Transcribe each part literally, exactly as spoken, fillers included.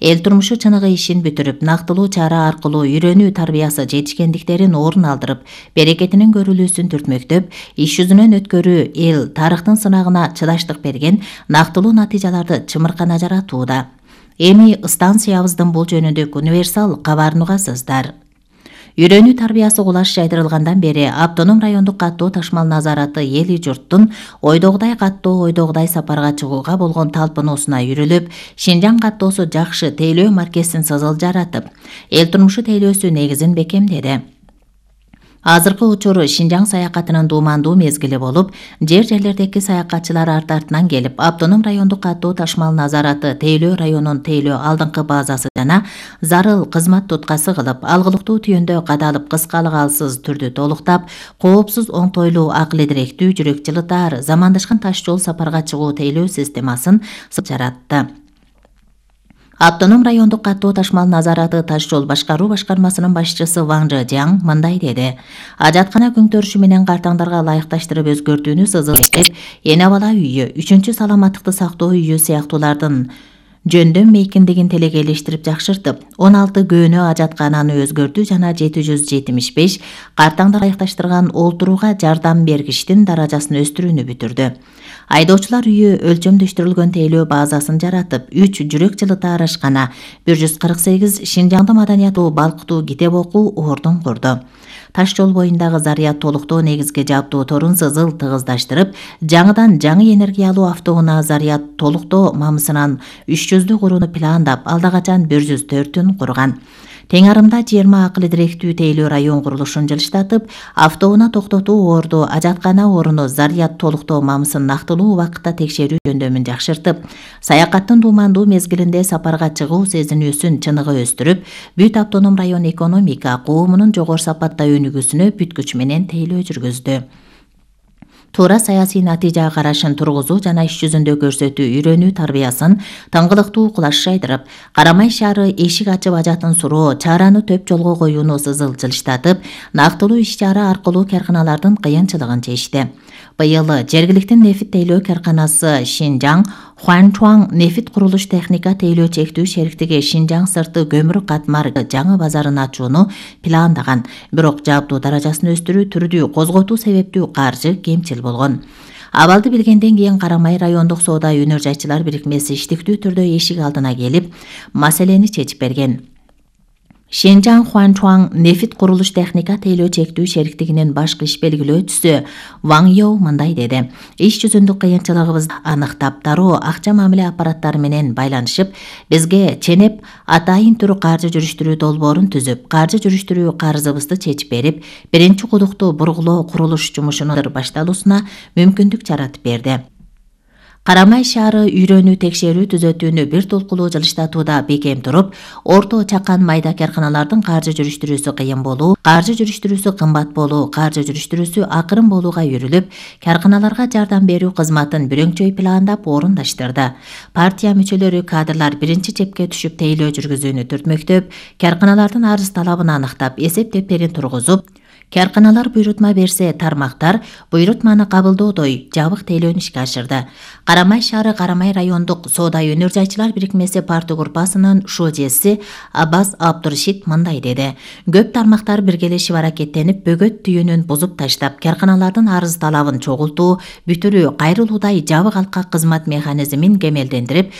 эл турмушу чыныгы ишин бүтүрүп, нактылуу чара аркылуу үйрөнүү тарбиясы жетишкендиктерин орун алдырып, берекетинин көрүлүүсүн түртмөктөп, иш жүзүнөн өткөрүү эл тарыхтын сынагына чыдаштык берген нактылуу натыйжаларды чымыркана жаратууда. Эми станциябыздын бул жөнүндө универсал кабарын угасыздар. Үйрөнүү тарбиясы кулаш жайдырылгандан бери автоном райондук каттоо ташмал назараты эли журттун ойдогудай каттоо ойдогудай сапарга чыгууга болгон талпынуусуна үйрүлүп, Шинжаң каттоосу жакшы тейлөө маркесин сызыл жаратып, эл турмушу тейлөөсү негизин бекемдеди. Азыркы учур Шинжаң саякатынын дуумандуу мезгили болуп, жер-жерлердеги саякатчылар арт-артынан келип, автоном райондук каттоо ташмал назараты Тейлөө районунун тейлөө алдыңкы базасы жана зарыл кызмат туткасы кылып, алгылыктуу түйүндө кадалып кыскалык-алсыз түрдү толуктап, коопсуз оңтойлуу акыл эдиректүү жүрөк жылытаар замандашкан таш жол сапарга чыгуу тейлөө системасын жаратты. Автоном райондук каттоо ташмал назараты таш жол башкаруу башкармасынын башчысы Ваң Жыжаң мындай деди: Ажаткана күңтөрүшү менен картаңдарга ылайыкташтырып өзгөртүүнү сызыл иштеп, эне бала үйү, үчүнчү саламаттыкты сактоо үйү сыяктуулардын жөндөм мейкиндигин телекейлештирип жакшыртып, он алты көөнө ажаткананы өзгөртүү жана жети жүз жетимиш беш картаңдар ылайыкташтырган олтурууга жардам бергичтин даражасын өстүрүүнү бүтүрдү. Айдоочулар үйү өлчөмдөштүрүлгөн тейлөө базасын жаратып, үч жүрөк жылытаар ашкана, бир жүз кырк сегиз Шинжаңды маданияттуу балкытуу китеп окуу ордун курду. Таш жол боюндагы заряд толуктоо негизги жабдуу торун сызыл тыгыздаштырып, жаңыдан жаңы энергиялуу автоунаа заряд толуктоо мамысынан үч жүздү курууну пландап, алда качан бир жүз төртүн курган. Тең арымда жыйырма акыл эдиректүү тейлөө район курулушун жылыштатып, автоунаа токтотуу орду, ажаткана орunu заряд толуктоо мамысын нактылуу убакытта текшерүү жөндөмүн жакшыртып, саякаттын дуумандуу мезгилинде сапарга чыгуу сезинүүсүн чыныгы өстүрүп, бүт автоном район экономика коомунун жогору сапатта өнүгүүсүнө бүткүч менен тейлөө жүргүздү. Туура саясий натыйжа карашын тургузуу жана иш жүзүндө көрсөтүү үйрөнүү тарбиясын таңгылыктуу кулаш жайдырып, Карамай шаары эшик ачып ажатын суроо, чараны төп жолго коюуну сызыл жылыштатып, нактылуу иш-чара аркылуу карканалардын кыйынчылыгын чечти. Быйыл жергиликтин нефит тейлөө карканасы Шинжаң Хуанчуаң нефит курулуш техника тейлөө чектүү шериктиги Шинжаң сырты көмүр катмар жаңы базарын ачууну пландаган, бирок жабдуу даражасын өстүрүү түрдүү козготуу себептүү каржы кемчил болгон. Абалды билгенден кийин Карамай райондук соода өнөр жайчылар бирикмеси иштиктүү түрдө эшик алдына келип, маселени чечип берген. Шинжаң Хуанчуаң нефит курулуш техника тейлөө чектүү шериктигинин башкы иш белгилөөчүсү Ваң Йоу мындай деди: Иш жүзүндүк кыйынчылыгыбызды аныктап, дароо акча мамиле аппараттары менен байланышып, бизге ченеп атайын түрү каржы жүрүштүрүү долбоорун түзүп, каржы жүрүштүрүү карызыбызды чечип берип, биринчи кудукту бургулоо курулуш жумушунун башталуусуна мүмкүндүк жаратып берди. Карамай шаары үйрөнүү текшерүү түзөтүүнү бир толкулуу жылыштатууда бекем туруп, орто чакан майда карканалардын каржы жүрүштүрүүсү кыйын болуу, каржы жүрүштүрүүсү кымбат болуу, каржы жүрүштүрүүсү акырын болууга үйрүлүп, карканаларга жардам берүү кызматын бүрөңчөй пландап орундаштырды. Партия мүчөлөрү кадрлар биринчи чепке түшүп тейлөө жүргүзүүнү түртмөктөп, карканалардын арыз талабын аныктап, эсеп дептерин тургузуп, карканалар буйрутма берсе тармактар буйрутманы кабылдоодой жабык тейлөөнү ишке ашырды. Карамай шаары Карамай райондук соода өнөр жайчылар бирикмеси парты группасынын шожеси Аббас Абдуршид мындай деди: Көп тармактар биргелешип аракеттенип, бөгөт түйүнүн бузуп таштап, карканалардын арыз талабын чогултуу, бүтүрүү, кайрылуудай жабык алкак кызмат механизмин кемелдендирип,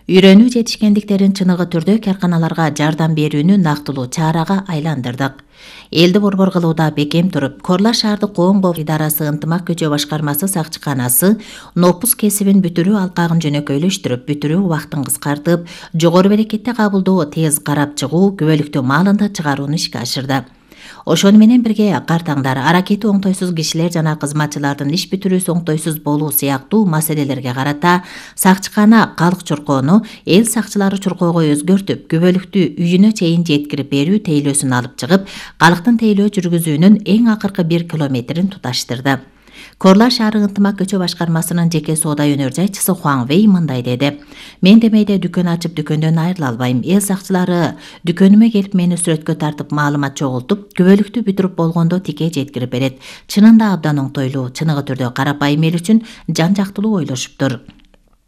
үйрөнүү жетишкендиктерин чыныгы түрдө карканаларга жардам берүүнү нактылуу чарага айландырдык. Элди борбор кылууда бекем туруп, Корла шаардык коом коопсуздук идарасы ынтымак көчө башкармасы сакчыканасы нопус кесибин бүтүрүү алкагын жөнөкөйлөштүрүп, бүтүрүү убактын кыскартып, жогору берекетте кабылдоо, тез карап чыгуу, күбөлүктүү маалында чыгарууну ишке ашырды. Ошону менен бирге картаңдар, аракети оңтойсуз кишилер жана кызматчылардын иш бүтүрүүсү оңтойсуз болуу сыяктуу маселелерге карата сакчыкана калк чуркоону эл сакчылары чуркоого өзгөртүп, күбөлүктүү үйүнө чейин жеткирип берүү тейлөөсүн алып чыгып, калктын тейлөө жүргүзүүнүн эң акыркы бир километрин туташтырды. Корла шаары ынтымак көчө башкармасынын жеке соода өнөр жайчысы Хуаң Вэй мындай деди: Мен демейде дүкөн ачып дүкөндөн айрыла албайм. Эл сакчылары дүкөнүмө келип мени сүрөткө тартып, маалымат чогултуп, күбөлүктүү бүтүрүп болгондо тике жеткирип берет. Чынында абдан оңтойлуу, чыныгы түрдө карапайым эл үчүн жан жактылуу ойлошуптур.